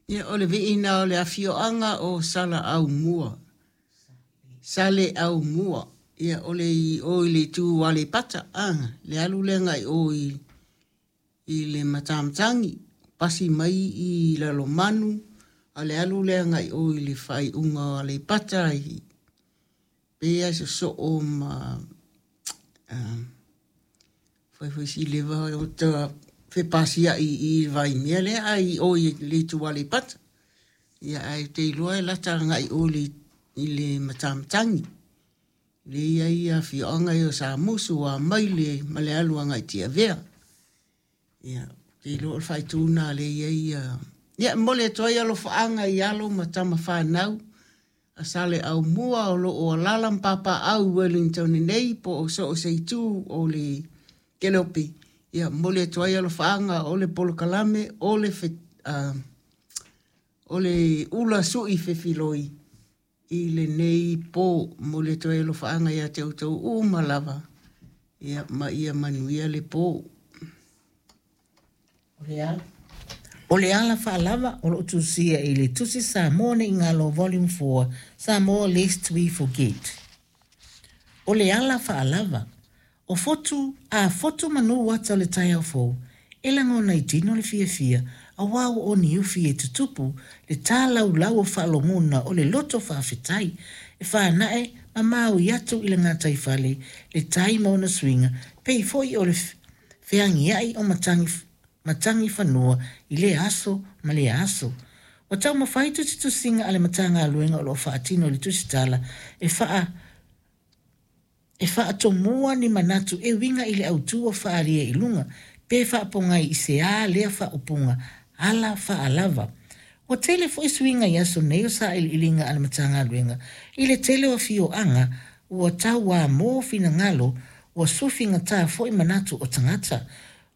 Ia, o le viiina o le afioaga o Salaaumua. Saleaaumua. Ia, o le i o i le itu o Aleipata, le alu lea agai o i le Matamatagi, pasi mai i Lalomanu, a o le alu lea agai o i le faaiuga o Aleipata, pei lava e sosoo ma fai foi si leva o ta fepasiai i le vaimea lea, ae i o i le itu Aleipata. Ia, ae ou te iloa e lata agai o i le Matamatagi. Lea e i ai afioaga ia o Samusu, o Amaile ma le alu agai i Tiavea. Ia, ou te iloa o le faaitu lena lea e i ai ia... Ia, e momoli atu ai alofaaga i alo ma tama fanau a Saleaaumua o lo o alaala ma papaaao i Wellington nei po o so o se itu o le Kelope. Ia, momoli atu ai alofaaga o le polokalame o le, o le ula sui fefiloi i lenei po. Momoli atu ai alofaaga ia te outou uma lava, ia, ma ia manuia le po. O le ala faalava o loo tusia i le Tusi Samoa Nei Galo Volume 4, Samoa Lest We Forget. O le ala faalava, o fotu a fotu manu ata o le taeao fou, e lagona i tino le fiafia, auā ua oniufi e tutupu le tālaulau o faalogona o le loto faafetai, e faanae ma maui atu i le gataifale le tai ma ona suiga, pei foi o le feagiai o matagi matagi fanua i lea aso ma lea aso. Ua taumafai tusitusiga a le Matagaluega o lo o faatino i le tusitala e faa e faatomua ni manatu e uiga i le autu ua faaalia i luga, pe faapogai i se a lea faaupuga ala faalava. Ua tele foi suiga i aso nei o sailiiliga a le Matagaluega i le tele o afioaga ua tauamo finagalo ua sufigatā foi manatu o tagata.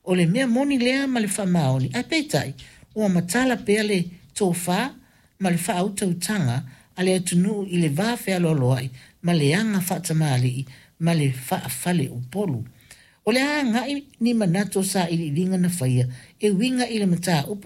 O le mea moni lea ma le faamaoni, ae peitai, ua matala pea le tofa ma le faautautaga a le atunuu i le va fealoaloai ma le aga faatamalii ma le faafaleupolu. O le a agai ni manatu o sailiiliga na faia e uiga i le mataupu.